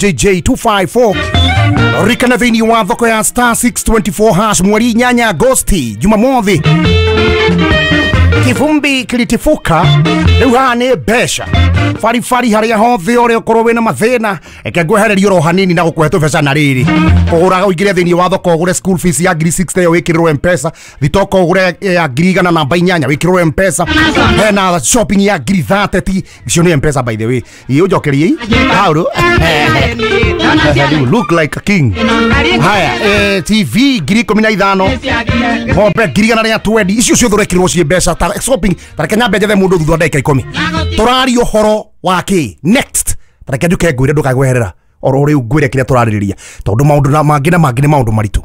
JJ254 rikana thĩinĩ wa thoko ya star 624 hash mweri 8 Agosti Jumamothi. Kivumbi kilitifuka rĩu haha nĩ mbeca baribari harĩa hothe ũrĩa ũkorwo wĩna mathĩna eke ngwehererie oro hanini na gũkũhe tũbeca na rĩrĩ kũgũra ũingĩre thĩinĩ wa thoko ũgũre school fees ya ngiri 60 ĩyo wĩkĩrĩrwo M-Pesa, thitoko ũgũre ya ngiri igana namba 8 wĩkĩrĩrwo M-Pesa, hena shopping ya ngiri 30 icio nĩ M-Pesa by the way. Ĩ ũnjokerie hauru you look like a king. Haya, TV ngiri 15, ng'ombe ngiri igana rĩa 20 icio ciothe ũrekĩrĩrwo ciĩ mbeca ta shopping. Tareke nyambe njethe mũndũ thutha wa ndagĩka 10 tũraria ũhoro wa kĩ next. Tareke njuke ngwĩre ndũkagweherera oro rĩu ngwĩre kĩrĩa tũrarĩrĩria tondũ maũndũ na mangĩ na mangĩ nĩ maũndũ maritũ.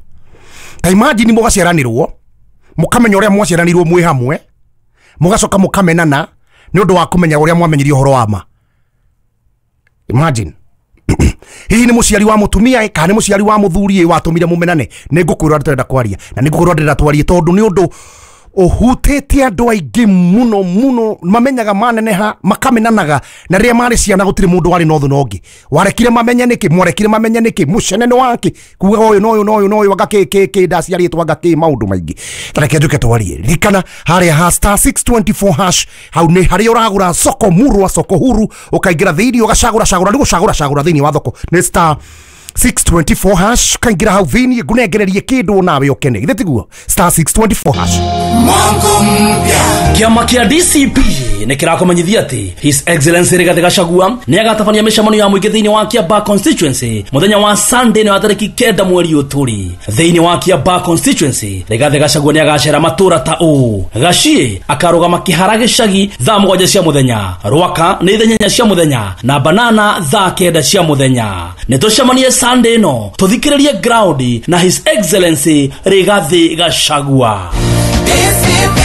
Ta imagine mũgaciaranĩrwo mũkamenya ũrĩa mwaciaranĩirwo mwĩ hamwe mũgacoka mũkamenana nĩ ũndũ wa kũmenya ũrĩa mwamenyirie ũhoro wa ma. Imagine hihi nĩ mũciari wa mũtumia kana nĩ mũciari wa mũthuri watũmire mũmenane. Nĩ ngũkwĩra ndĩrenda kwaria na nĩ ngũkwĩra ndĩrenda twarie tondũ nĩ ũndũ ũhutĩtie andũ aingĩ mũno mũno mamenyaga maneneha makamenanaga na rĩrĩa marĩ ciana gũtirĩ mũndũ warĩ na ũthũ na ũngĩ. Warekire mamenye nĩkĩ, mwarekire mamenye nĩkĩ, mũcene nĩ wake kuga ũyũ na ũyũ na ũyũ na ũyũ anga kĩ kĩ kĩ ndaciarĩtwo anga kĩ maũndũ maingĩ. Tareke njuke twarie ririkana harĩa ha star 624 hash hau nĩ harĩa ũragũra soko murwa soko huru ũkaingĩra thĩinĩ ũgacagũra cagũra nĩ gũcagũra cagũra thĩinĩ wa thoko nĩ star 624 hash kaingira hau thĩinĩ ngũnengererie kĩndũ nawe ũkene githĩ tiguo star 624 hash. Kĩama kĩa DCP nĩ kĩrakũmenyithia atĩ His Excellency Rigathi Gachagua nĩ agatabania mĩcemanio ya mũingĩ thĩinĩ wa Kiambaa constituency mũthenya wa Sunday nĩ wa tarĩki 9 mweri ũtũri. Thĩinĩ wa Kiambaa constituency Rigathi Gachagua nĩ agacera matũra ta ũũ: Gaciĩ akarũgama Kĩhara gĩcagi thaa 7 cia mũthenya, Rwaka nĩ thaa 8 cia mũthenya na Banana thaa 9 cia mũthenya. Nĩ tũcemanie Sunday ĩno tũthikĩrĩrie ground na His Excellency Rigathi Gachagua. DCP,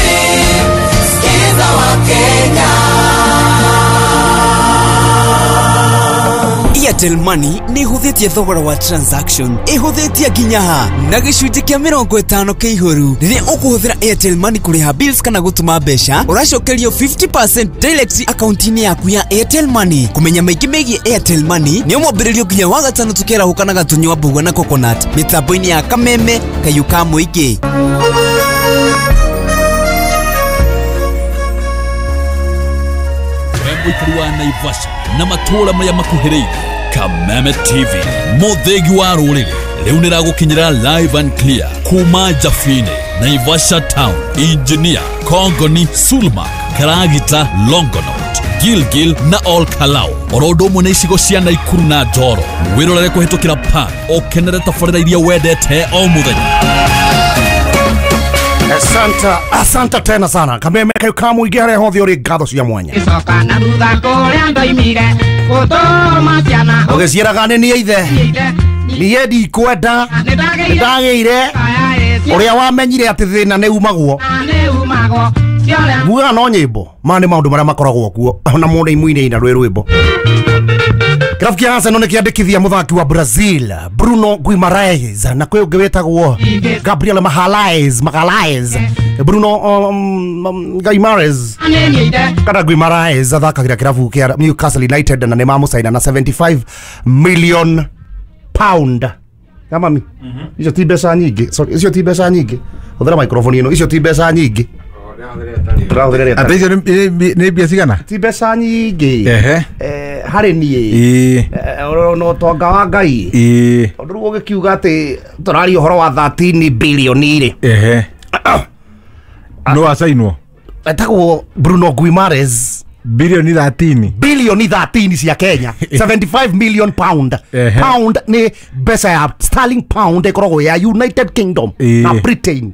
skiza wa Kenya. Airtel Money nĩ ĩhũthĩtie thogora wa transaction, ĩhũthĩtie nginya ha na gĩcunjĩ kĩa 50 kĩihũru. Rĩrĩa ũkũhũthĩra Airtel Money kũrĩha bills kana gũtũma mbeca, ũracokerio 50% direct akaunti-inĩ yaku ya Airtel Money. Kũmenya maingĩ megiĩ Airtel Money nĩ mwambĩrĩrio nginya wa gatano tũkĩarahũkanaga tũnyua mbũgua na coconut mĩtambo-inĩ ya Kameme kayũ ka mũingĩ. Mũikari wa Naivasha na matũũra marĩa makuhĩrĩirie, Kameme TV mũthĩgi wa rũrĩrĩ rĩu nĩragũkinyĩra live and clear kuma Jafine, Naivasha Town, Engineer, Kongoni, Sulma, Karagita, Longonot, Gilgil na Ol Kalou oro ũndũ ũmwe na icigo cia Naikuru na Njoro. Wĩrorere kũhĩtũkĩra pan ũkenere tabarĩra iria wendete o mũthenya. Asanta, asanta tena sana. Kameme kayu kamu igere hothe uri ngatho cia mwanya. Ũgĩciĩraga nĩ niĩ ithe niĩ ndikwenda ndagĩire ũrĩa wamenyire atĩ thĩna nĩ umagwo mugaga no nyĩmbo ma nĩ maũndũ marĩa makoragwo kuo ona mũndũ imuine ina rwĩ rwĩmbo. Kĩrabu kĩa Arsenal nĩ kĩandĩkithia mũthaki wa Brazil Bruno Guimaraes na kwĩ ũngĩ wĩtagwo Gabriel Magalhaes. Bruno Guimaraes kana Guimaraes athakagĩra kĩrabu kĩa Newcastle United na nĩ mamũcaina na 75 million pound. Kamami, icio ti mbeca nyingĩ. Sorry, icio ti mbeca nyingĩ. Hũthĩra microphone ĩno, icio ti mbeca nyingĩ. Ate icio nĩ mbia cigana? Ti mbeca nyingĩ. Ehe. Harĩ niĩ no tonga wa Ngai tondũ rĩu ũgĩkiuga atĩ tũraria ũhoro wa 13 bilioni rĩ. Ehe. No acainwo etagwo Bruno Guimaraes bilioni 13, bilioni 13 cia Kenya, 75 million pound. Pound nĩ mbeca ya sterling pound ĩkoragwo ya United Kingdom na Britain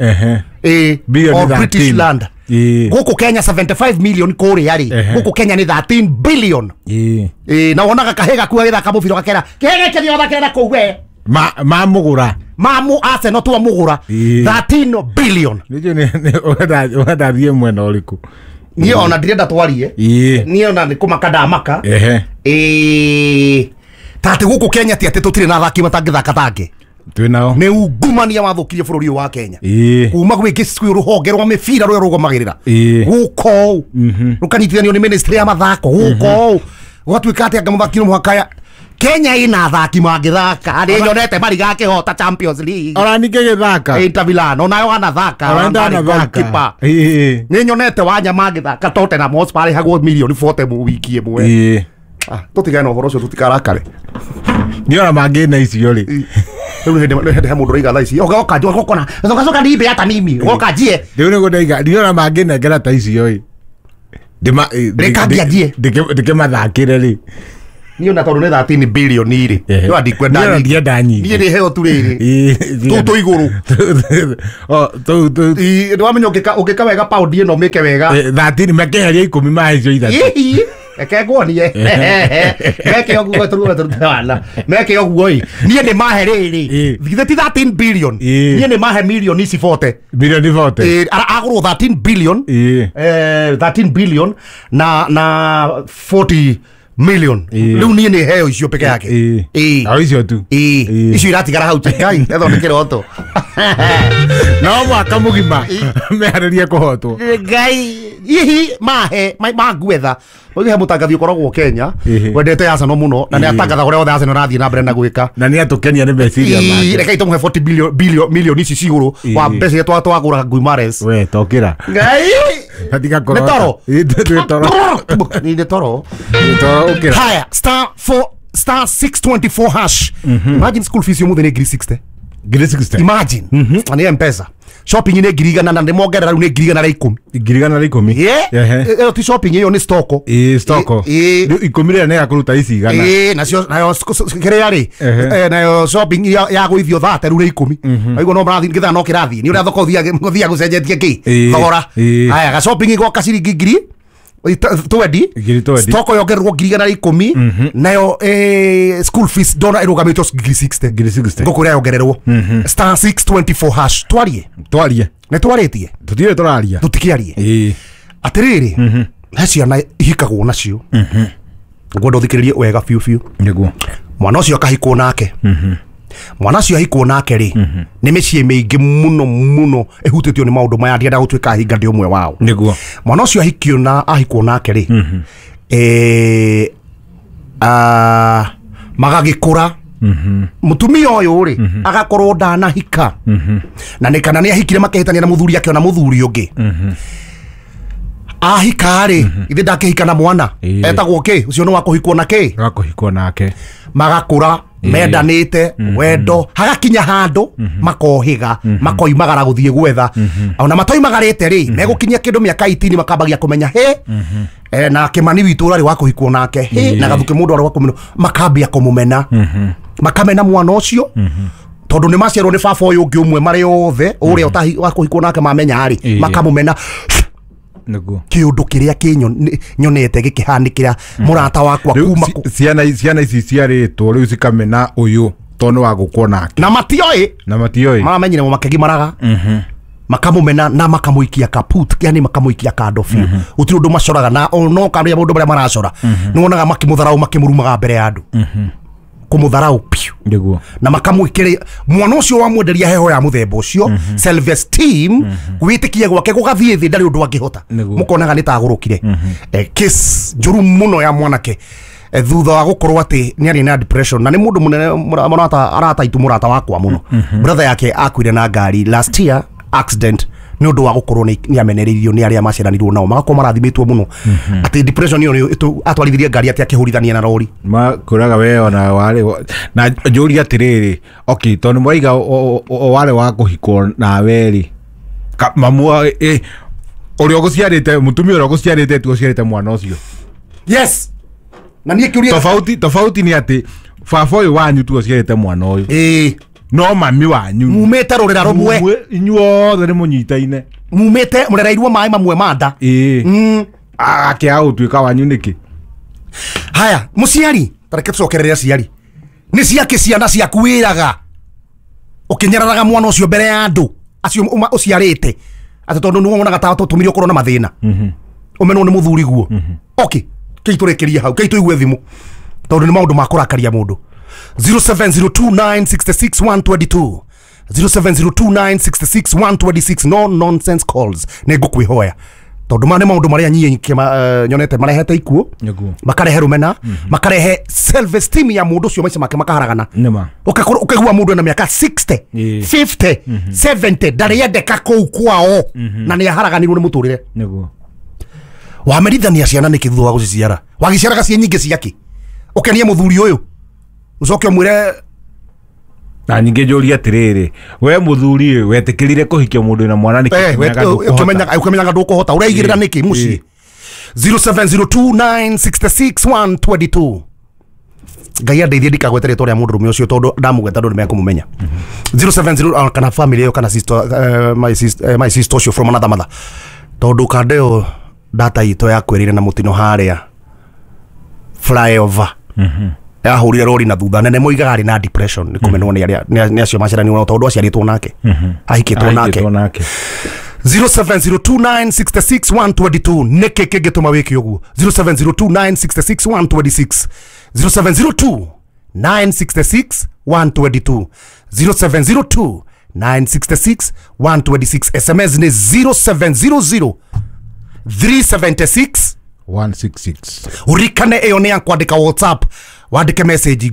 or British land. Gũkũ Kenya 75 million kũrĩa rĩ, gũkũ Kenya nĩ 13 billion. Na wonaga kahĩ gaku agĩthaka mũbira gakera kĩhĩ gĩkĩ gĩathakĩra kũu we mamũgũra mamu Arsenal twamũgũra 13 billion. Nĩnjũĩ ũrenda thiĩ mwena ũrĩkũ. Niĩ ona ndirenda twarie niĩ ona nĩ kũmaka ndamaka ta atĩ gũkũ Kenya ti atĩ tũtirĩ na athaki matangĩthaka tangĩ twĩ nao. Nĩ ungumania wathũkirie bũrũri ũyũ wa Kenya kuma gwĩ rũhonge rwa mĩbira rũrĩa rũgomagĩrĩra gũkũ rũkanyitithanio nĩ ministry ya mathako gũkũ gũgatuĩka atĩ anga mũthaki no mũhaka Kenya ina athaki mangĩthaka nĩ nyonete Mariga akĩhota Champions League Ona ningĩ gĩthaka. Inter Milan onayo anathaka Ona ndanathaka. Ĩĩ. Nĩ nyonete Wanyama agĩthaka Tottenham Hotspur arĩhagwo milioni 40 mu wiki ĩmwe. Ĩĩ. Tũtigane na ũhoro ũcio tũtikarakare. Nĩ ona mangĩna icio rĩ. Rĩu hĩndĩ he mũndũ ũraiga thaa ici oka ũkona coka coka nibe hata mimi oka njie. Rĩu nĩguo ndaiga nĩ ona mangĩnengera ta icio ĩ. Rĩkambia njie. Ndĩkĩmathakĩre rĩ. Niĩ ona tondũ nĩ 13 billion rĩ. No ndikwenda Niĩ ona ndienda nyingĩ. Niĩ nĩ heo tu rĩrĩ. Tũu tũ igũrũ. O tũu tũu. Nĩwamenya ũngĩka wega pound ĩno mĩke wega. 13 makĩeheria 10 ma icio ithatũ. Hihi. Reke nguonie. Meke ũguo tũruge tũrute wana. Meke ũguo ĩ. Niĩ nĩ mahe rĩrĩ. Githĩ ti 13 billion. Niĩ nĩ mahe milioni ici 40. Milioni 40. Agũrwo 13 billion. 13 billion na 40 million. Rĩu niĩ nĩ heo icio peke yake. Ĩĩ. O icio tu. Ĩĩ. Icio iratigara hau Ngai ethondekere oto. No mwaka mũgima meharĩrie kũhotwo. Ngai hihi mahe manguetha. Oige he mũtangathi ũkoragwo Kenya wendete Arsenal mũno na nĩ atangathaga ũrĩa othe Arsenal arathiĩ na mbere na gwĩka. Na nĩ atũkenia nĩ meciria make. Reke itũmũhe 40 billion milioni ici cigũrũ wa mbeca iria twagũra Guimares. We tokĩra. Ngai. Tiga Nĩ toro. Nĩ toro. Nĩ toro. Nĩ toro ũkĩra. Haya star 4 star 624 hash. Imagine school fees yomuthe nĩ ngiri 60. Ngiri 60. Imagine. Na nĩ M-Pesa. Shopping nĩ ngiri igana na nĩ mongerera rĩu nĩ ngiri igana rĩa ikũmi. Ngiri igana rĩa ikũmi. Ĩyo ti shopping ĩyo nĩ stoko. Ĩĩ stoko. Rĩu ikũmi rĩrĩa nĩ ya kũruta ici igana. Ĩĩ nacio nayo kĩrĩa rĩ nayo shopping ya gũithio thate rĩu nĩ ikũmi. Waigua no marathiĩ gĩthaa no kĩrathiĩ. Nĩ ũrĩa thoko ũthiaga gũcenjetie kĩ thogora. Haya ga shopping igoka ciringi ngiri 20. Stoko yongererwo ngiri igana rĩa ikũmi nayo school fees ndona ĩrũgamĩtio ngiri 60. Ngiri 60. Ngũkwĩra yongererwo. Star 624 hash. Twarie. Twarie. Nĩ twarĩtie. Tũtirĩ tũraria. Tũtikĩarie. Ĩĩ. Atĩrĩrĩ he ciana ihikagwo nacio. Ngwenda ũthikĩrĩrie wega biũ biũ. Nĩguo. Mwana ũcio akahikwo nake. Mwana ũcio ahikwo nake rĩ nĩ mĩciĩ mĩingĩ mũno mũno ĩhutĩtio nĩ maũndũ maya ndienda gũtuĩka hinga ndĩ ũmwe wao. Nĩguo. Mwana ũcio ahikio na ahikwo nake rĩ magagĩkũra. Mũtumia ũyũ rĩ agakorwo ndanahika. Na nĩ kana nĩ ahikire makĩhĩtania na mũthuri akĩona mũthuri ũngĩ. Ahika rĩ ithe ndakĩhika na mwana etagwo kĩ ũcio nĩ wa kũhikwo na kĩ wa kũhikwo nake. Magakũra mendanĩte wendo hagakinya handũ makohĩga makoimagara gũthiĩ gwetha. Ona matoimagarĩte rĩ megũkinyia kĩndũ mĩaka 18 makambagia kũmenya hĩ na Kĩmani witũ ũrarĩ wa kũhikwo nake hĩ na Gathukĩ mũndũ arĩ wa kũmena makambia kũmũmena. Makamena mwana ũcio tondũ nĩ maciarwo nĩ baba ũyũ ũngĩ ũmwe marĩ othe ũrĩa ũtahi wa kũhikwo nake mamenya rĩ makamũmena. Nĩguo. Kĩũndũ kĩrĩa nyonete gĩkĩhanĩkĩra mũrata wakwa kuma ciana ici ciarĩtwo rĩu cikamena ũyũ tondũ nĩ wa gũkwo nake. Na matioĩ. Na matioĩ. Maramenyire makĩgimaraga. Makamũmena na makamũikia kaput yani makamũikia kando biũ. Gũtirĩ ũndũ macoraga na no karĩa maũndũ marĩa maracora. Nĩ wonaga makĩmũtharau makĩmũrumaga mbere ya andũ. Kũmũtharau biũ. Nĩguo. Na makamwĩkĩra mwana ũcio wamwenderia heho ya mũthemba ũcio self esteem gwĩtĩkia gwake gũgathiĩ thĩ ndarĩ ũndũ angĩhota. Mũkonaga nĩ tagũrũkire. Case njũru mũno ya mwanake thutha wa gũkorwo atĩ nĩ arĩ na depression na nĩ mũndũ mũnene mũrata arata itũ mũrata wakwa mũno. Brother yake akuire na ngari last year accident nĩ ũndũ wa gũkorwo nĩ amenereirio nĩ arĩa maciaranirwo nao magakorwo marathimĩtwo mũno atĩ depression ĩyo atwarithirie ngari atĩ akĩhũrithania na rori. Makwĩraga we ona warĩ na njũria atĩrĩrĩ okay tondũ mwaiga warĩ wa kũhikwo nawe rĩ mamu ũrĩa ũgũciarĩte mũtumia ũrĩa ũgũciarĩte tu ũciarĩte mwana ũcio. Yes. Na niĩ kĩũria tofauti nĩ atĩ baba ũyũ wanyu tu ũciarĩte mwana ũyũ. Ĩĩ. No mami wanyu mumĩte rũrĩra rũmwe inyuothe nĩ mũnyitaine mumĩte mũrereirwo maĩ mamwe ma nda. Ĩĩ. Agakĩaga gũtuĩka wanyu nĩkĩ? Haya mũciari ta reke tũcokerere aciari nĩ ciake ciana ciaku wĩraga ũkĩnyararaga mwana ũcio mbere ya andũ acio ũciarĩte atĩ tondũ nĩ wonaga ta tũtũmire ũkorwo na mathĩna ũmenwo nĩ mũthuri guo. Okay kĩi tũrĩkĩrie hau kĩi tũigue thimũ tondũ nĩ maũndũ ma kũrakaria mũndũ. 0702966122 0702966126 no nonsense calls. Nĩ ngũkwĩhoya Tondu ma nĩ maũndũ marĩa niĩ nyonete marehete ikuũ, makarehe rumena, makarehe self esteem ya mũndũ ũcio, maica make makaharagana. Nĩma. Ũgakorwo ũkaigua mũndũ ena mĩaka 60, 50, 70 ndarĩendeka kũu kwao na nĩ aharaganirwo nĩ mũtũrĩre. Nĩguo. Wamerithania ciana nĩkĩ thutha wa gũciciara? Wagĩciaraga ciĩ nyingĩ ciakĩ? Ũkenie mũthuri ũyũ ũcoke ũmwĩre. Na ningĩ njũrie atĩrĩrĩ, we mũthuri wetĩkĩrire kũhikia mũndũ wĩna mwana nĩkĩ? Ũkĩmenyaga ndũkũhota, ũreigĩrĩra nĩkĩ mũciĩ? 0702966122. Ngai andeithie ndikagwete rĩtwa rĩa mũndũrũme ũcio tondũ ndamũgweta andũ nĩmekũmũmenya. 070 kana family ĩyo kana sister, my sister ũcio from another mother, tondũ kanda ĩyo data itũ yakwĩrĩire na mũtino harĩa flyover yahũrire rori na thutha nene, moigaga arĩ na depression nĩ kũmenwo nĩ arĩa nĩ acio maciaranirwo nao tondũ aciarĩtwo nake, ahikĩtwo nake. 0702966122 nĩkĩ kĩngĩtũma wĩke ũguo? 0702966126, 0702966122, 0702966126. SMS nĩ 0700 376 166. Urikane ĩyo nĩ ya kwandĩka WhatsApp, wandĩke message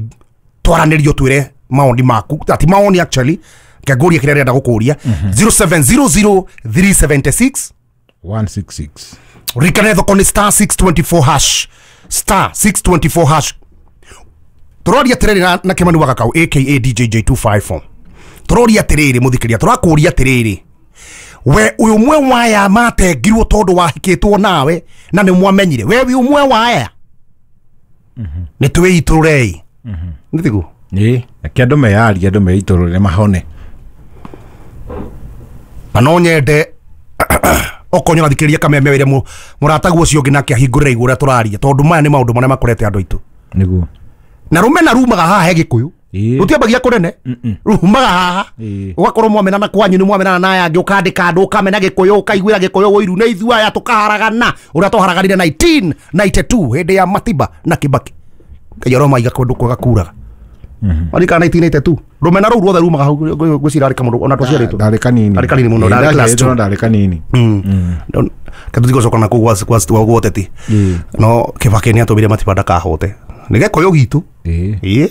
twaranĩrio twĩre maoni maku, ati maoni actually ngengũria kĩrĩa ndĩrenda gũkũria. 0700 376 166. Urikane thoko nĩ star 624 hash, star 624 hash. Tũroria atĩrĩrĩ na Kĩmani wa Gakau aka DJJ254, tũroria atĩrĩrĩ mũthikĩria, tũrakũria atĩrĩrĩ, we ũyũ ũmwe waya matengirwo tondũ wahikĩtwo nawe na nĩ mwamenyire, we wĩ ũmwe waya nĩ twĩitũrũrei. Nĩ tiguo? Ĩĩ, reke andũ meyarie, andũ meitũrũre mahone. Na no nyende okorwo nĩũrathikĩrĩria Kameme wĩre mũrataguo ũcio ũngĩ nake ahingũrĩre igũrũ ũrĩa tũraria, tondũ maya nĩ maũndũ marĩa makorete andũ aitũ. Nĩguo. Na rũmena rumaga haha he Gĩkũyũ, rũtiambagia kũnene, rumaga haha ũgakorwo mwamenana kwanyu nĩ mwamenana na aya angĩ, ũkandĩka andũ ũkamena Gĩkũyũ, ũkaiguĩra Gĩkũyũ ũiru nĩ ithuĩ aya tũkaharagana ũrĩa twaharaganire 1992 hĩndĩ ya Matiba na Kibaki. Ngai aromaiga kũndũ kwega kuraga. Marika 1982 rũmena rũu ruothe rumaga hau, ngwĩciria arĩ kamũndũ ona twaciarĩtwo. Ndarĩ kanini. Ndarĩ kanini mũno, ndarĩ class 2. Ndarĩ kanini. Katũtigũcoka na kũu gwa ũteti. No Kibaki nĩ atũmire Matiba ndakahote. Nĩ Gĩkũyũ gitũ. Ĩĩ.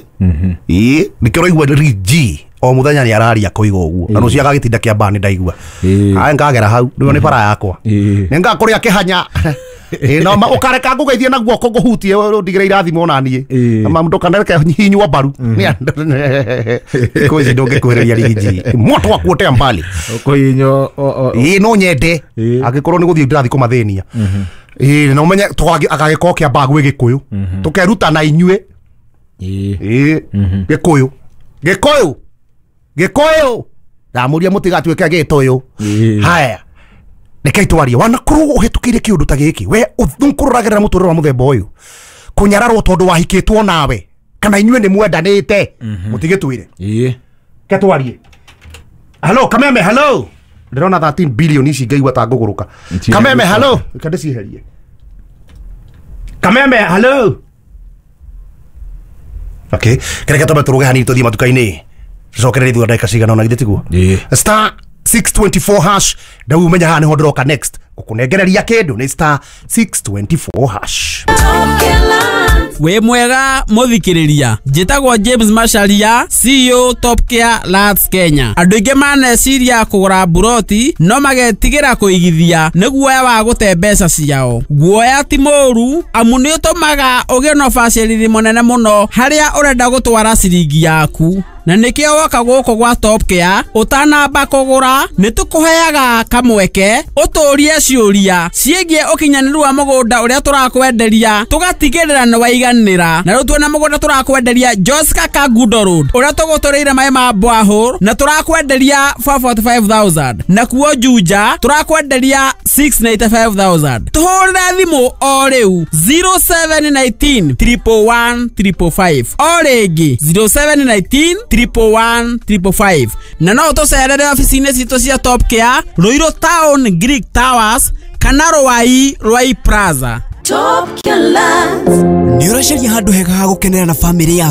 Ĩĩ, nĩkĩo ũraigua G o mũthenya nĩ araria koiga ũguo. Na rũciũ agagĩtinda kĩambaa nĩ ndaigua. Aya ngagera hau, rĩu nĩ bara yakwa. Nĩ ngakũrĩa kĩhanya. Ĩĩ, no ũkareka ngũgeithie na guoko ngũhutie ndigĩre irathimo ona niĩ. Ma ndũkanareke hihinywo mbaru. Thikũ ici ndũngĩkuhĩrĩria G. Moto wa kuotea mbali. Ũkũhihinywo. Ĩĩ, no nyende angĩkorwo nĩ gũthiĩ ndĩrathiĩ kũmathĩnia. Ĩĩ, na ũmenye agagĩkorwo kĩambaa gwĩ Gĩkũyũ. Tũkeruta na inyuĩ. Ĩĩ, Gĩkũyũ. Gĩkũyũ. Gĩkũyũ. Ndamũria mũtigatuĩke Gĩtũyũ. Haya. Reke twarie wanakorwo ũhĩtũkĩire kĩũndũ ta gĩkĩ, we ũkũroragĩrĩra mũtũrĩre wa mũthemba ũyũ, kũnyararwo tondũ wahikĩtwo nawe kana inyuĩ nĩ mwendanĩte, mũtigĩtwĩre. Ĩĩ. Ke twarie. Hello Kameme, hello. Ndĩrona 13 billion ici ngaigua ta ngũgũrũka. Kameme, hello. Reke ndĩcieherie. Kameme, hello. Okay, kereke twambe tũrũge hanini tũthiĩ matuka-inĩ tũcokererie thutha ndagĩka cigana ũna, githĩ tiguo? Star 624 hash, ndau umenya haha nĩho ndĩroka next gũkũnengereria kĩndũ nĩ star 624 hash. Wĩ mwega mũthikĩrĩria, njĩtagwo James Macharia, CEO Top Care Lands Kenya. Andũ aingĩ maneciria kũgũra mburoti no magetigĩra kũigithia nĩ guoya wa gũte mbeca ciao. Guoya ti mũũru amu nĩ ũtũmaga ũgĩe na ũbacĩrĩri mũnene mũno harĩa ũrenda gũtwara ciringi yaku. Na nĩkĩo woka gũkũ gwa Top Care ũtanamba kũgũra nĩ tũkũheaga kamweke ũtũrie ciũria ciĩgiĩ ũkinyanĩru wa mũgũnda ũrĩa tũrakwenderia, tũgatigĩrĩra nĩ waiganĩra. Na rĩu twĩna mũgũnda tũrakwenderia Joska Kangundo Road ũrĩa tũgũtũrĩire maĩ ma borehole na tũrakwenderia 445,000, na kuo Juja tũrakwenderia 695,000. Tũhũrĩre thimũ o rĩu 0719 111 555, o rĩngĩ 0719 111 555. Na no ũtũcerere obici-inĩ citũ cia Top Care, Ruiru Town Greek Towers kana Ruai Ruai Plaza. Top Care Lands. Nĩ ũracaria handũ hega ha gũkenera na bamĩrĩ yaku.